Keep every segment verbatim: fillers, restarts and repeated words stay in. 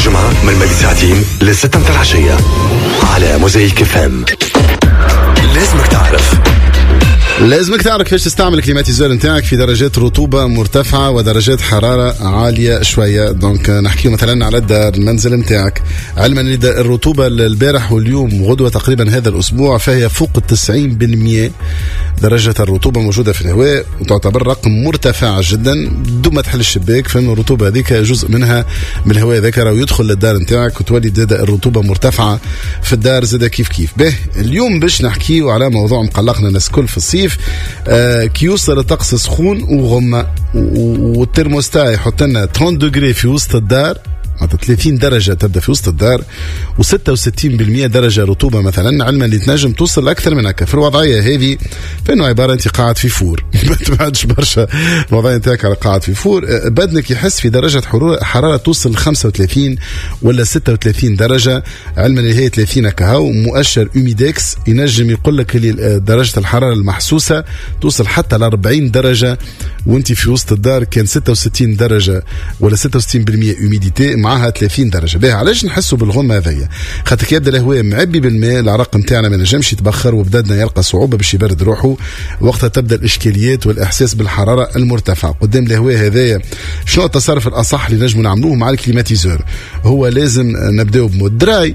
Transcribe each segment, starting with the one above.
للجمعة من ماضي ساعتين للستة متاع العشية على موزايك اف ام. لازمك تعرف. لازمك تعرف كيفاش تستعمل ال climatiseur نتاعك في درجات رطوبة مرتفعة ودرجات حرارة عالية شوية. donc نحكيو مثلا على الدار، المنزل نتاعك، علما ان الرطوبة البارح واليوم وغدوة تقريبا هذا الأسبوع فهي فوق التسعين بالمية درجة الرطوبة موجودة في الهواء، وتعتبر رقم مرتفع جدا. دوب ما تحل الشباك فإن الرطوبة هذيك جزء منها من الهواء هذاك راهو يدخل للدار نتاعك، وتولي زاد الرطوبة مرتفعة في الدار زاد كيف كيف. به، اليوم باش نحكيو على موضوع مقلقنا الناس الكل في الصيف، آه كي يوصل الطقس سخون وغمة والترموستا يحط لنا ثلاثين degrés في وسط الدار، معناتها ثلاثين درجة تبدا في وسط الدار وستة وستين بالمية درجة رطوبة مثلا، علما اللي تنجم توصل أكثر من هكا. في الوضعية هذه فإنه عبارة أنت قاعد في four، ما تبعدش برشا الوضعية نتاعك على قاعد في four. بدنك يحس في درجة حرارة توصل خمسة وثلاثين ولا ستة وثلاثين درجة، علما اللي هي ثلاثين كهو. مؤشر humidex ينجم يقول لك اللي درجة الحرارة المحسوسة توصل حتى ل أربعين درجة، وانت في وسط الدار كان ستة وستين درجة ولا ستة وستين بالمية humidité معاها ثلاثين درجه. باهي، علاش نحسوا بالغمه هذيا؟ خاطر كي يبدا الهواء معبي بالماء، العرق نتاعنا ما نجمش يتبخر وبدننا يلقى صعوبة باش يبرد روحه. وقتها تبدا الاشكاليات والاحساس بالحرارة المرتفعة قدام الهواء هذايا. شنو التصرف الاصح اللي نجموا نعملوه مع ال climatiseur؟ هو لازم نبداو ب mode dry،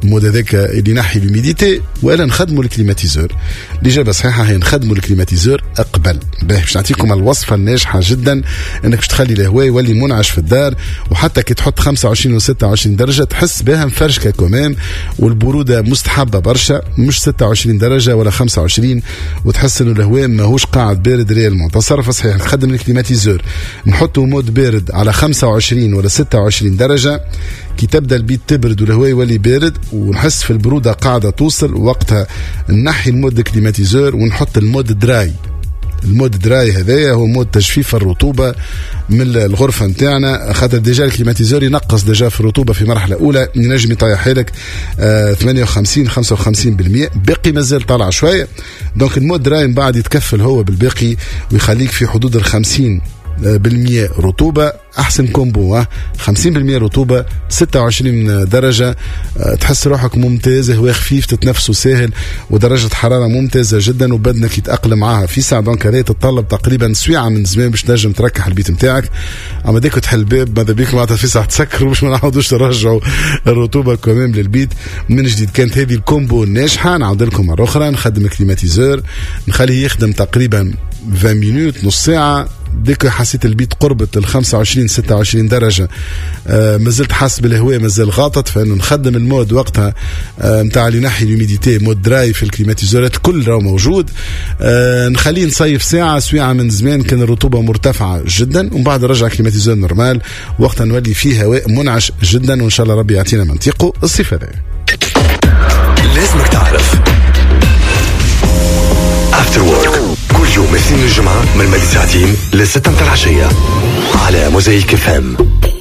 ال mode هذاك اللي ينحي l'humidité، والا نخدموا ال climatiseur؟ الاجابة صحيحه هي نخدموا ال climatiseur قبل. باهي، باش نعطيكم الوصفة الناجحة جدا انك باش تخلي الهواء يولي منعش في الدار، وحتى كي تحط خمسة وعشرين و ستة وعشرين درجه تحس بها مفرشكه quand même، والبروده مستحبة برشا، مش ستة وعشرين درجه ولا خمسة وعشرين وتحس انه الهواء ماهوش قاعد بارد réellement. تصرف صحيح: نخدم ال climatiseur، نحطه mode بارد على خمسة وعشرين ولا ستة وعشرين درجه. كي تبدا البيت تبرد والهواء يولي بارد ونحس في البرودة قاعدة توصل، وقتها نحي ال mode climatiseur ونحط ال mode dry. ال mode dry هذايا هو mode تجفيف الرطوبة من الغرفة نتاعنا، خاطر déjà ال climatiseur ينقص déjà في الرطوبة في مرحلة اولى، ينجم يطيح لك آه ثمانية وخمسين خمسة وخمسين بالمية، باقي مازال طالع شويه. donc ال mode dry من بعد يتكفل هو بالباقي ويخليك في حدود ال خمسين بالمية رطوبة. أحسن combo خمسين بالمية رطوبة، ستة وعشرين درجة، أه، تحس روحك ممتاز، هواء خفيف تتنفسه ساهل ودرجة حرارة ممتازة جدا وبدنك يتأقلم معها في ساعة. donc هذا تتطلب تقريبا سويعة من زمان باش تنجم تركح البيت نتاعك. اما dès que تحل الباب ماذا بيك معناتها في ساعة تسكروا باش ما نعاودوش نرجعوا الرطوبة quand même للبيت من جديد. كانت هذه ال combo الناجحة. نعاود لكم مرة أخرى: نخدم ال climatiseur، نخليه يخدم تقريبا عشرين minutes، نص ساعة. dès que حسيت البيت قربت ال خمسة وعشرين ستة وعشرين درجة، آه مازلت حاسس بالهواء مازال غاطط، فانه نخدم ال mode وقتها نتاع آه اللي ينحي l'humidité، mode dry في ال climatiseur ات الكل راهو موجود. آه نخليه نصيف ساعة سويعة من زمان كان الرطوبة مرتفعة جدا، ومن بعد نرجع climatiseur normal. وقتها نولي فيه هواء منعش جدا، وان شاء الله ربي يعطينا منطقة الصيف هذا. لازمك تعرف After Work كل يوم اثنين الجمعة من ماضي ساعتين للستة متاع العشية على موزايك اف ام.